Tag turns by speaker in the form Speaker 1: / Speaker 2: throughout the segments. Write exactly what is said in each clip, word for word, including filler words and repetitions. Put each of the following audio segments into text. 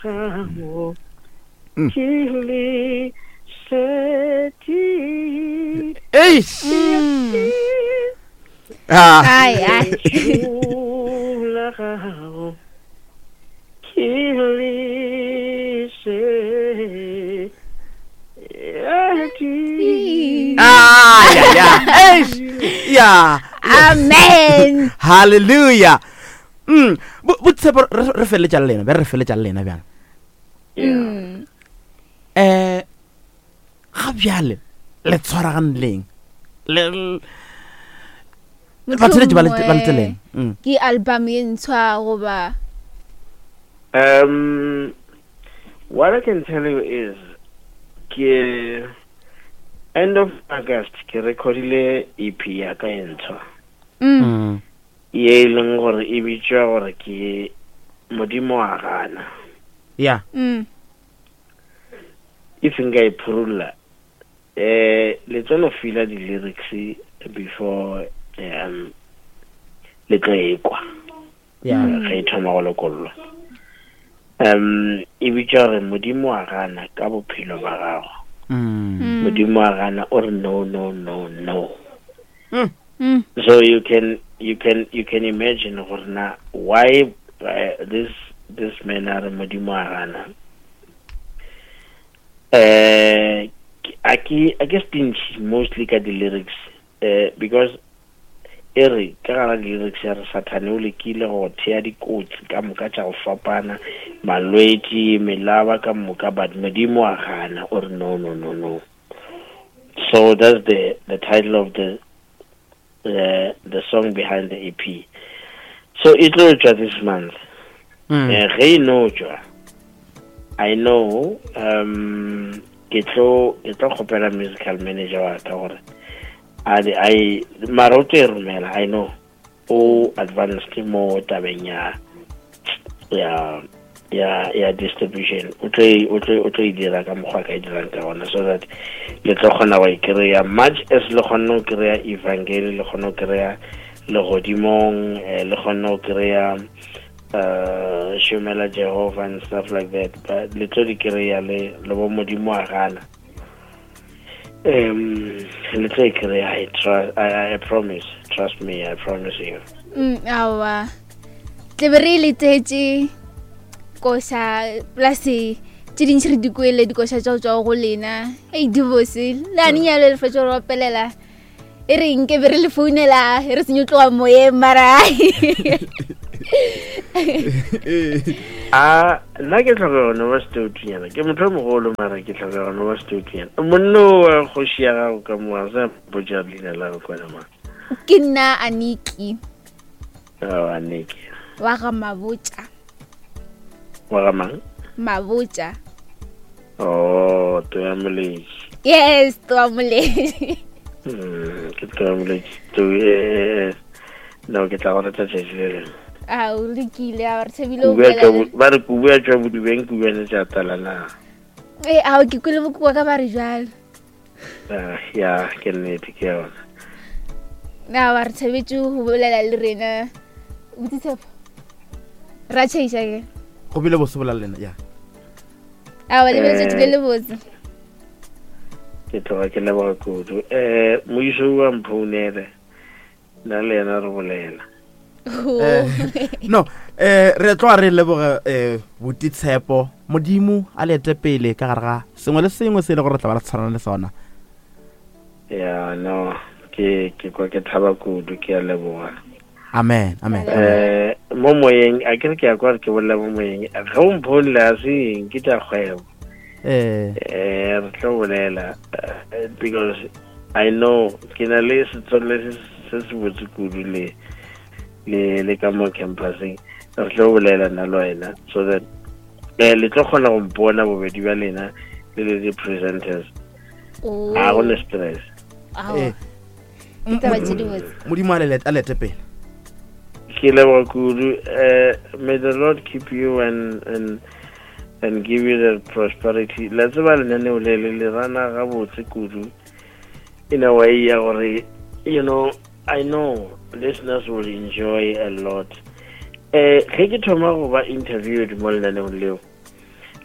Speaker 1: gago
Speaker 2: Mm.
Speaker 1: ke lesedi
Speaker 2: Eish. Ah.
Speaker 3: Ai, ai.
Speaker 1: Lentšu la gago ke lesedi
Speaker 2: Ah, ya, ya. Eish. Ya.
Speaker 3: Amen.
Speaker 2: Hallelujah. Mm. Bo bo Tshepo re re feleletša le lena, be re feleletša le lena bjang.
Speaker 3: Mm.
Speaker 2: Eh ga bjale le tshwaragane leng? Le le- batheeletši ba le ba le tseleng. Mm.
Speaker 3: Ke album ye ntshwa goba
Speaker 1: Um, what I can tell you is, ke end of August ke recordile E P ya ka e ntshwa.
Speaker 3: Mm.
Speaker 2: Mm.
Speaker 1: Ye e leng gore e bitswa gore ke Modimo wa gana.
Speaker 2: Yeah.
Speaker 3: Mm.
Speaker 1: If nka e phurulla, eh le tlo no feel di-lyrics before, um, le tlo e kwa.
Speaker 2: Yeah.
Speaker 1: Ge e thoma go lokollwa. Um, e bitswa gore Modimo wa gana ka bophelo ba gago.
Speaker 2: Mm.
Speaker 3: Mm.
Speaker 1: Modimo wa gana o re no, no, no, no.
Speaker 2: Mm.
Speaker 3: Mm.
Speaker 1: So you can, you can, you can imagine gore na why, uh, this, this man a re Modimo wa gana. Eh, a ke, a ke stingy mostly ka di-lyrics, eh, because e re ka gara di-lyrics ya re Sathane o lekile go thea dikotsi ka moka tša go fapana, malwetši, melaba ka moka, but Modimo wa gana o re no, no, no, no. So that's the, the title of the, the, the song behind the E P. So e tlo tšwa this month.
Speaker 2: Mm.
Speaker 1: Eh, ge e no tšwa, I know, um, ke tlo, ke tlo kgopela musical manager wa ka gore a di, a e, mara o tlo e romela, I know o advanced mo tabeng ya, ya, ya, ya distribution. O tlo e, o tlo, o tlo e dira ka mokgwa ka e dirang ka gona, so that le tlo kgona go e kry-a much as le kgonne go kry-a evangeli, le kgonne go kry-a legodimong, eh, le kgonne go kry-a, uh, Shomela Jehovah and stuff like that, but le tlo di kry-a le, le bo Modimo wa gana. Um, le tlo e kry-a, I trust, I, I promise, trust me, I promise you.
Speaker 3: Mm, aowa. Tle be re letetše koša plus tše dintši re di kwele dikoša tša go tšwa go lena. Ei, di bose. Le ane nyalo le fetša go re opelela. E re nke be re le founela, e re senyo tloga moyeng mara.
Speaker 1: A, nna ke hloka go no ba setoutunyana. Ke motho o mogolo mara ke hloka go no ba setoutunyana. Monna o wa kgoši ya gago ka mo, a sa mpotša leina la gago kwana mang?
Speaker 3: Ke nna Aniki.
Speaker 1: Oh, Aniki.
Speaker 3: Wa ga Mabotja.
Speaker 1: Wa ga mang?
Speaker 3: Mabotja.
Speaker 1: Oh, Toya Moletši.
Speaker 3: Yes, Toya Moletši.
Speaker 1: Mm, ke Toya Moletši. To, eh, eh, no, ke tla go reta tšatši le lengwe.
Speaker 3: A, o lokile, a re thabile o
Speaker 1: Kubu ya
Speaker 3: bolela
Speaker 1: tšwa
Speaker 3: le
Speaker 1: bo-, ba re kubu ya tšwa bodibeng, kubu ya tša tala na.
Speaker 3: Eh, ao, ke kwele bokoa ka ba re jwalo.
Speaker 1: Ah, ya, ke nnete, ke yona.
Speaker 3: Na, ba re thabetse go bolela le rena. Botse Tshepo. Ra tšhaiša ke?
Speaker 2: Go bile bose bolela le lena, ya.
Speaker 3: Aowa, le bile letšatši le
Speaker 1: Eh,
Speaker 3: le botse.
Speaker 1: Ke tloga ke leboga kudu. Eh, moiso wa mphounele. Nna le yena re bolela.
Speaker 3: Oh.
Speaker 2: Eh, no, eh, re tloga re leboga, eh, Buti Tshepo. Modimo a le ete pele ka gare ga sengwe le sengwe se e le gore re tla ba re tshwarana le sona.
Speaker 1: Ya, no, ke, ke kwa ke thaba kudu, ke a leboga.
Speaker 2: Amen, amen.
Speaker 1: Eh, mo moyeng, a ke re ke a kwa re ke bolela mo moyeng. Ge o mphounela a se eng, ke tša kgwebo.
Speaker 2: Eh.
Speaker 1: Eh, re tlo bolela, eh, because I know ke na le setswalle se, se se botse kudu le, le, le ka mo campuseng. Re tlo bolela nna le wena, so that, eh, le tlo kgona go mpona bobedi bja lena le le di-presenters.
Speaker 3: Oh.
Speaker 1: Ha go na stress.
Speaker 3: Aowa.
Speaker 2: Eh.
Speaker 3: Ke taba tše di botse.
Speaker 2: Modimo a le let-, a lete pele.
Speaker 1: Ke leboga kudu. Eh, may the Lord keep you and, and, and give you the prosperity. La tseba lenaneo le le le rana gabotse kudu in a way ya gore, you know, I know listeners will enjoy a lot. Eh, ge ke thoma go ba interviewed mo lenaneong leo,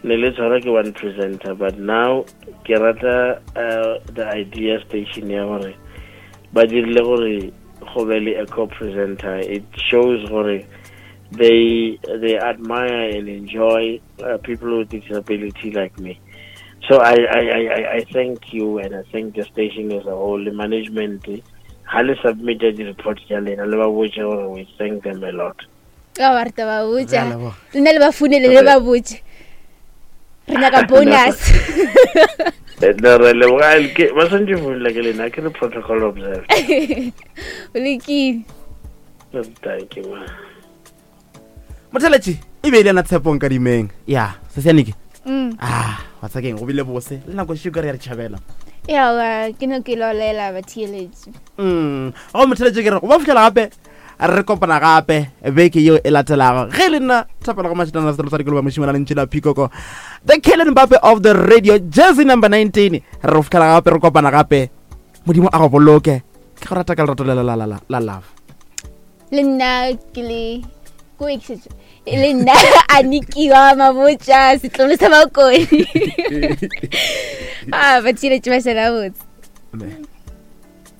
Speaker 1: Ne le tshwara ke one presenter, but now ke rata uh, the idea station ya gore ba dirile gore go be le a co-presenter. It shows gore they they admire and enjoy uh, people with disability like me. So I, I, I, I- I thank you and I thank the station as a whole, the management. Ha le submitted the report ya lena le ba botse gore we thank them a lot.
Speaker 3: Ka ba re ta ba
Speaker 2: Re a
Speaker 3: botša.
Speaker 2: leboga.
Speaker 3: Lena le ba founele le ba botše re nyaka bonus.
Speaker 1: Eh, no, re leboga ke ba swantse founela ke lena ke re protocol observed.
Speaker 3: O lekile.
Speaker 1: Thank you, ma.
Speaker 2: Motheletši e be e le yena Tshepo Nkadimeng ya sesianeke.
Speaker 3: Mm.
Speaker 2: Ah, wa tsakeng go bile bose le nako šio ka re ya re tšhabela.
Speaker 3: Yawa ke no ke lolela batheeletši.
Speaker 2: Mm go motheletši ke re go ba fitlhela gape re kopana gape beke yeo e latelago ge le nna thapela go mašetana setelo sa dikoloba mošimana lentši la Phikoko, the Kellen Mbappe of the radio, jersey number nineteen. Re go fitlhela gape re kopana gape, Modimo a go boloke, ke go rata ka lerato le la la la la love.
Speaker 3: Le nna ke le ko ekišetšo le nna a nikiwa mabotša setlolo sa Bakone a batheeletši ba šala botse.
Speaker 2: Amen.